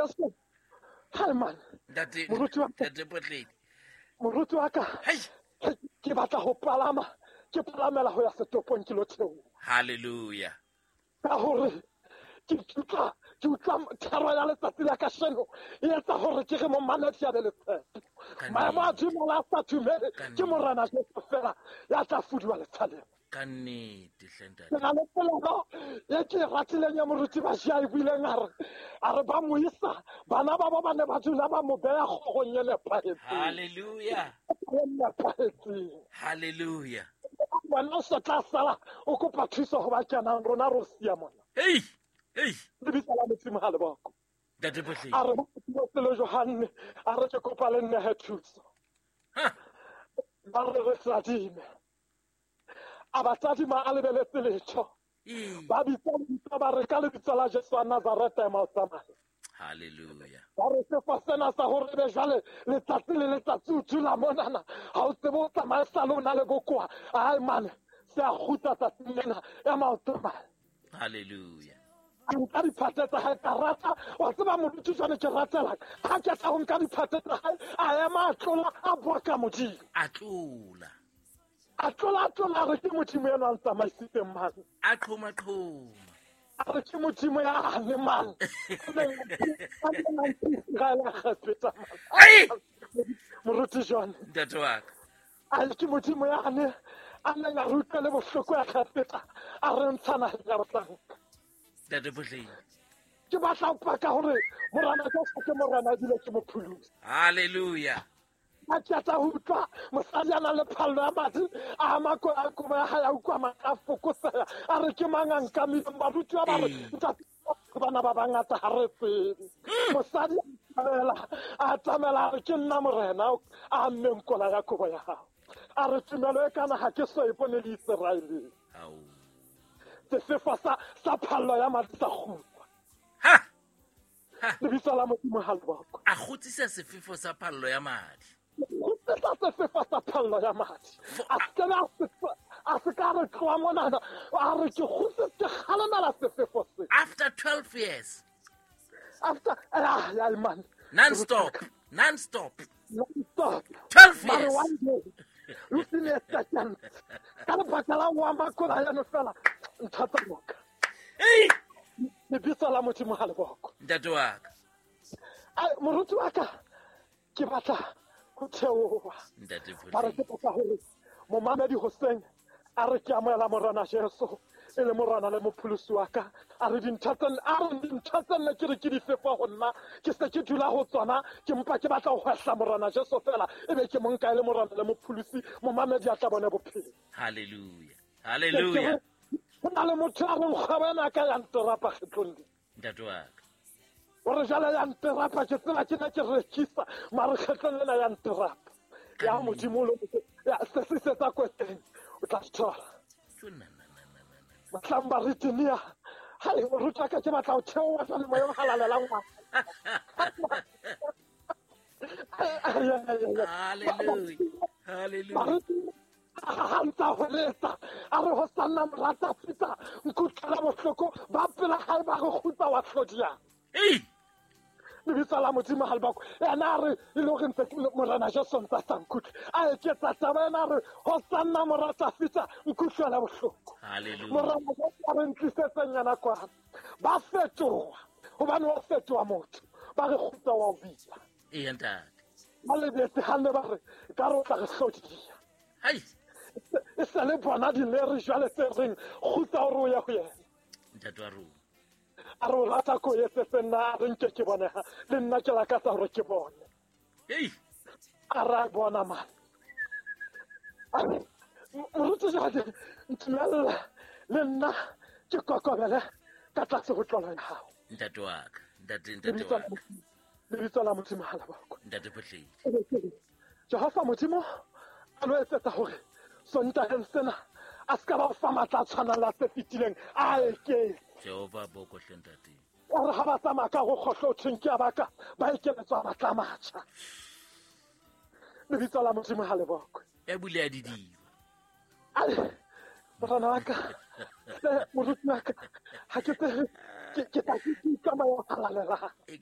Jesu hai man, Ntate, moruti wa ka, Ntate Potledi. Moruti wa ka, Hei. ke batla ho palama, ke palamela ho ya setopong ke lo theoha. Hallelujah. Ka hore ke utlwa thero ya letsatsi la kasheno e etsa hore ke re momamedi a be le tshepo. Ka Maemo a nnete. dumela a sa dumele, Ka ke nnete. Morena Jesu fela ya tla fuduwa letshaleng. Ka nnete hle, ntate. Ke na le polelo e ke e ratileng ya moruti Bašia e buileng, a re ba mo isa bana ba bo ba ne ba dula ba mo beya kgogong e nepahetseng. Hallelujah. E nepahetseng. Hallelujah. Wena o se tla sala o kopa thuso ho ba kenang, rona ro siya mona. Hey, hey. Lebitso la Modimo ha le boko. Ntate Potledi. A re ba le Johanne, a re ke kopa le nnehe thuso. Ha. Ba re re tadime, a ba tadima a lebeletse letho. Ee. Ba bitsa lebitso, ba re ka lebitso la Jesu wa Nazareta, ema o tsamaye. Hallelujah. Ba re sefo sena sa hore ebe jwale letsatsi le letsatsi o dula monana, ha o tsebe o tsamaye, sale o na le bokoa, ai mane, se a kgutla tsatsing lena, ema o tsamaye. Hallelujah. A nka diphate tsa hae, ka rata wa tseba moruti jwane ke ratelang ha ke tla ho nka diphate tsa hae, a ema, a tlola, a boka Modimo. A tlola. A tlola, a tlola, a re ke Modimo eno a ntsamaisitseng mane. A qhoma qhoma. A re ke Modimo yane mane a neng a Iseraele a Kgepeta. Ai! Moruti jone. Ntate wa ka. A re ke Modimo yane a neng a re utlwele bohloko ya Kgepeta, a re ntsha naheng ya bohlanka. Ntate Potledi. Ke batla ho paka hore Morena Jesu ke Morena ebile ke mopholosi. Hallelujah. A qeta ho utlwa mosadi a nang le phallo ya madi a ama kobo ya hae, a utlwa matla a fokotseha, a re ke mang a nkamileng? Barutiwa ba re, "Ntate, bana ba bangata, ha re tsebe." Mosadi a atamela, a re ke nna, Morena, a ammeng kola ya kobo ya hao. A re tumelo e kana ha ke so e bone le Iseraeleng. Ao. Sefefo sa phallo ya madi sa kgutla. Ha. Ha. Lebitso la Modimo ha le bokwe. A kgutsisa sefefo sa phallo ya madi. Kgutsisa sefefo sa phallo ya madi, a se ke a se ka re tloa monana, a re ke kgutse, ke kgalemela sefefo se. After 12 years. After ah ya man. Non stop. Non stop. Non-stop. 12 Mare years. one day within a second, ka lebaka la o ama kola yano fela, ntho tsa loka. Hey! Lebitso la Modimo ha le bokwe. Ntate wa ka. Ai, moruti wa ka, ke batla ho theoha. Ntate Ba re ke Potledi. batla hore momamedi hoseng a re ke amohela Morena Jesu e le Morena le mopholosi wa ka, a re dintho tse a re dintho tse nne ke re ke di fefa ho nna, ke se ke dula ho tsona, ke mpa ke batla ho hwehla Morena Jesu fela, ebe ke mo nka e le Morena le mopholosi, momamedi a tla bone bophelo. Hallelujah. Ke Hallelujah. re, ho na le motho a reng kgwebo ena ka ya nterapa kgetlong le. Ntate wa ka. O re jale ya nterapa, ke tsela ke ne ke rekisa, mare kgetlong lena ya nterapa ya Modimo o lo ya se se setsa kweteng, o tla di thola. Tjo, na, na, na, na, na, na. Batlang ba retenia hai, moruti wa ka, ke batla ho theoha jwale moya o halalelang wa. Hallelujah. Hallelujah. Baruti ha ntsa ho letsa, a re ho sanna morata fita nkutlwela bohloko ba pela hae, ba re kgutsa wa hlodiang. Hey! Lebitso la Modimo ha le bako. Ena a re e le hore ntse Morena Jesu ntse a sa nkutlwe, a eketsa taba ena, a re ho sanna morata fita nkutlwela bohloko. Hallelujah. Morena Jesu a re ntlisetseng yena kwana, ba fetoha hobane wa fetoha motho, ba re kgutsa wa o bitsa. Eya, ntate. Ba lebetse ha ne ba re ka re o tla re hlodiya. Hai! E se le bona dileri jwale tse reng kgutsa hore o ye ho yena. Ntate wa rona. A re o rata ko etsetse nna, a re nke ke boneha le nna, ke lakatsa hore ke bone. Hey! A re a bona mane. A re, moruti jwale ntumella le nna ke kokobele ka tlase ho tlolo ya hao. Ntate wa ka. Ntate, ntate Lebitso wa la ka. Modimo, lebitso la Modimo ha le bokwe. Ntate Potledi. Jehova Modimo a lo etsetsa hore Sontaheng sena a se ka ba o fa matla a tshwanang le a se fetileng, a eketse. Jehova boko hle, ntate. O re ha ba tsamaya ka go kgohlo o thweng ke a baka, ba ekeletswa matla a matjha. Lebitso la Modimo ha le bokwe. Ya bule ya didiba. Ai, morena wa ka, moruti wa ka, ha ke tsebe ke tla ke utlwa moya o halalelang. E ka